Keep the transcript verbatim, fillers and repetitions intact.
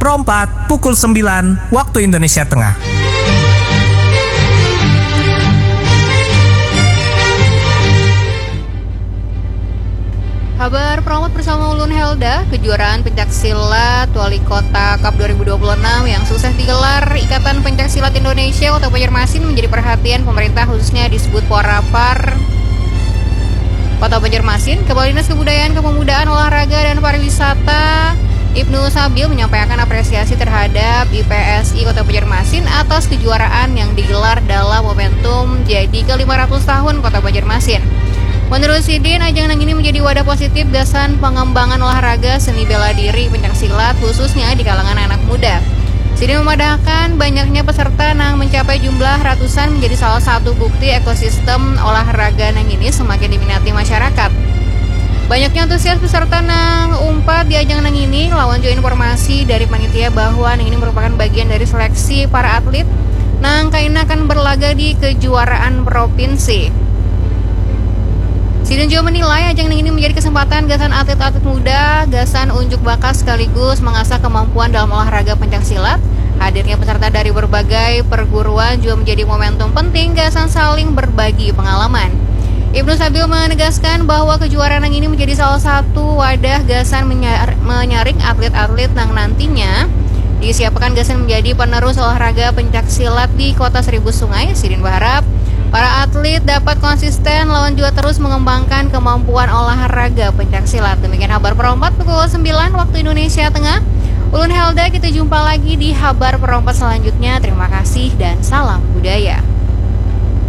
Pro empat, pukul sembilan, waktu Indonesia Tengah. Habar Pro empat bersama ulun Helda. Kejuaraan pencak silat Wali Kota Cup dua ribu dua puluh enam yang sukses digelar Ikatan Pencak Silat Indonesia Kota Banjarmasin menjadi perhatian pemerintah, khususnya disebut Porapar Kota Banjarmasin. Kepala Dinas Kebudayaan, Kepemudaan, Olahraga, dan Pariwisata Ibnu Sabil menyampaikan apresiasi terhadap I P S I Kota Banjarmasin atas kejuaraan yang digelar dalam momentum jadi ke lima ratus tahun Kota Banjarmasin. Menurut sidin, ajang nang ini menjadi wadah positif gasan pengembangan olahraga seni bela diri pencak silat, khususnya di kalangan anak muda. Sidin memadahkan banyaknya peserta nang mencapai jumlah ratusan menjadi salah satu bukti ekosistem olahraga nang ini semakin diminati masyarakat. Banyaknya antusias peserta nang umpat di ajang nang ini, lawan jua informasi dari panitia bahwa nang ini merupakan bagian dari seleksi para atlet nang kaina akan berlaga di kejuaraan provinsi. Sidin jua menilai ajang nang ini menjadi kesempatan gasan atlet-atlet muda gasan unjuk bakat sekaligus mengasah kemampuan dalam olahraga pencak silat. Hadirnya peserta dari berbagai perguruan jua menjadi momentum penting gasan saling berbagi pengalaman. Ibnu Sabil menegaskan bahwa kejuaraan nang ini menjadi salah satu wadah gasan menyar- menyaring atlet-atlet nang nantinya disiapkan gasan menjadi penerus olahraga pencak silat di Kota Seribu Sungai. Sidin berharap para atlet dapat konsisten lawan juga terus mengembangkan kemampuan olahraga pencak silat. Demikian Habar Pro empat pukul sembilan waktu Indonesia Tengah. Ulun Helda, kita jumpa lagi di Habar Pro empat selanjutnya. Terima kasih dan salam budaya.